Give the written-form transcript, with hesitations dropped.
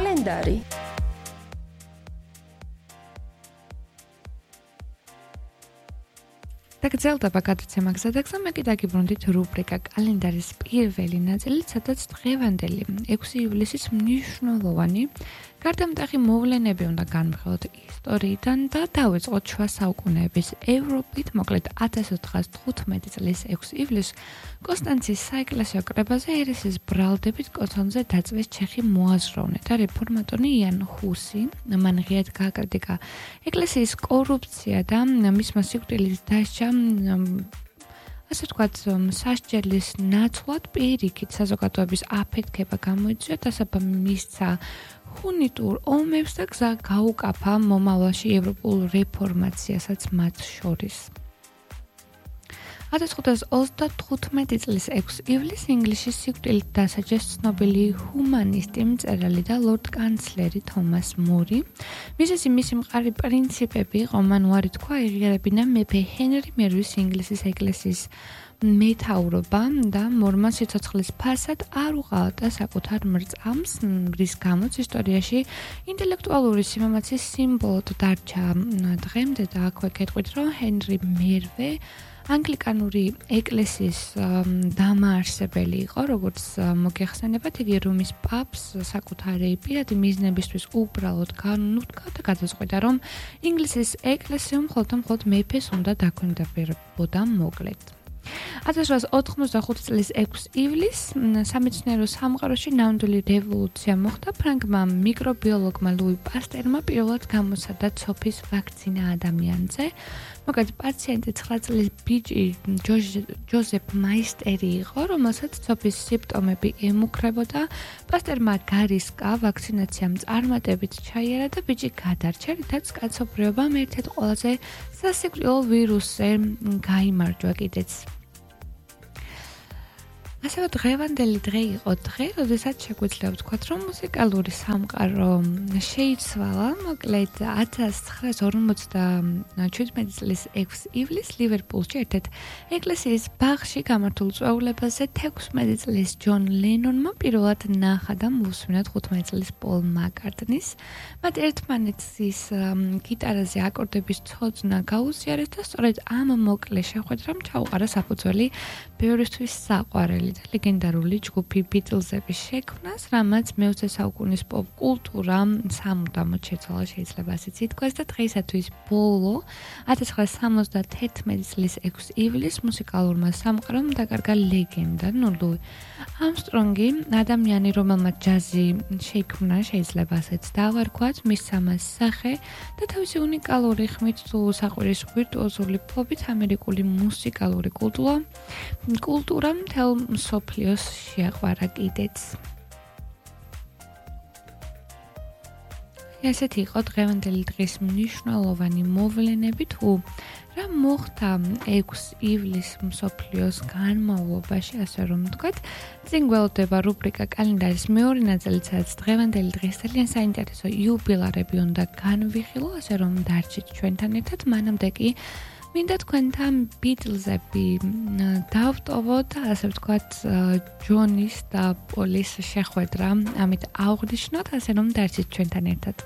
კალენდარი. დაგრძელდება გადაცემა გზადაგზა, მე კიდე გიბრუნდით რუბრიკა კალენდარის პირველი ნაწილი, სადაც დღევანდელი 6 ივლისის მნიშვნელოვანი გარდამტეხი მოვლენები უნდა განვიხილოთ ისტორიიდან და დავიწყოთ შუა საუკუნეების ევროპით, მოკლედ 1415 წლის 6 ივლისს კონსტანცის საეკლესიო კრებაზე ერესის ბრალდებით კონსოლზე დაწვეს ჩეხი მოაზროვნე და რეფორმატორი იან ჰუსი. მან ღიად გააკრიტიკა ეკლესიის კორუფცია და მისმა სიკვდილის დასჯა ასე ვთქვათ, სასჯელის ნაცვლად პირიქით საზოგადოების აფეთქება გამოიწვია და საბამ მისცა ჰუნიტურ ომებს და გზა გაუკაფა მომავალში ევროპულ რეფორმაციასაც მათ შორის. 1535 წლის 6 ივლისს ინგლისში სიკვდილით დასაჯეს ცნობილი ჰუმანისტი, მწერალი და ლორდ კანცლერი თომას მური. მისი მყარი პრინციპები იყო, მან უარი თქვა ეღიარებინა მეფე ჰენრი მერვის ინგლისის ეკლესიის მეთაურობა და მორმა სიცოცხლის ფასად არ უყალატა საკუთარ მრწამს, რის გამოც ისტორიაში ინტელექტუალური სიმამაცის სიმბოლოდ დარჩა დღემდე და აქვე გეტყვით, რომ ჰენრი მერვე ანგლიკანური ეკლესიის დამაარსებელი იყო, როგორც მოგეხსენებათ, იგი რომის პაპს საკუთარი პირადი მიზნებისთვის უბრალოდ განუდგა და გადაწყვიტა, რომ ინგლისის ეკლესიამ მხოლოდ მეფეს უნდა დაქვემდებარებოდა მოკლედ. 1885 წლის 6 ივლისს სამეცნიერო სამყაროში ნამდვილი რევოლუცია მოხდა. ფრანგმა მიკრობიოლოგმა ლუი პასტერმა პირველად გამოსცადა ცოფის ვაქცინა ადამიანზე. მოკლედ პაციენტი 9 წლის ბიჭი ჯოზეფ მაისტერი იყო, რომელსაც ცოფის სიმპტომები ემუქრებოდა. პასტერმა გარისკა ვაქცინაციამ წარმატებით ჩაიარა და ბიჭი გადარჩა, რითაც კაცობრიობამ ერთ-ერთ ყველაზე სასიკვდილო ვირუსზე გაიმარჯვა კიდეც. ასევე დღევანდელი დღე იყო დღე, როდესაც შეგვიძლია ვთქვათ, რომ მუსიკალური სამყარო შეიცვალა. მოკლედ 1957 წლის 6 ივლისს ლივერპულში ერთ-ერთ ეკლესიის ბაღში გამართულ წვეულებაზე 16 წლის ჯონ ლენონმა პირველად ნახა და მოусმინა 15 წლის პოლ მაკარტნის. მათ ერთმანეთის გიტარაზე აკორდების ცოდნა გაუზიარეს და სწორედ ამ მოკლე შეხვედრამ ჩაუყარა საფუძველი ბევრისთვის საყვარელი და ლეგენდარული ჯგუფი ბიტლზების შექმნას, რამაც მე-20 საუკუნის პოპ კულტურა სამუდამოდ შეცვალა, შეიძლება ასეც ითქვას და დღეისათვის ბოლო 1971 წლის 6 ივლისს მუსიკალურმა სამყარომ დაკარგა ლეგენდა ლუი ამსტრონგი, ადამიანი, რომელმაც ჯაზი შექმნა, შეიძლება ასეც დავარქვათ, მისცა მას სახე და თავისი უნიკალური ხმით თუ საყვირის ვირტუოზული ფლობით ამერიკული მუსიკალური კულტურა მთელ მსოფლიოს შეაყვარა კიდეც. ასეთი იყო დღევანდელი დღის მნიშვნელოვანი მოვლენები. თუ რა მოხდა 6 ივლისს მსოფლიოს განმავლობაში, ასე რომ ვთქვათ, წინ გველოდება რუბრიკა კალენდარის მეორე ნაწილი, სადაც დღევანდელი დღის ძალიან საინტერესო იუბილარები უნდა განვიხილო, ასე რომ დარჩით ჩვენთან ერთად. მანამდე კი მინდა თქვენთან ბიტლზები დავტოვოთ, ასე ვთქვათ, ჯონის და პოლის შეხვედრა, ამით აღვნიშნოთ, ასე რომ დარჩით ჩვენთან ერთად.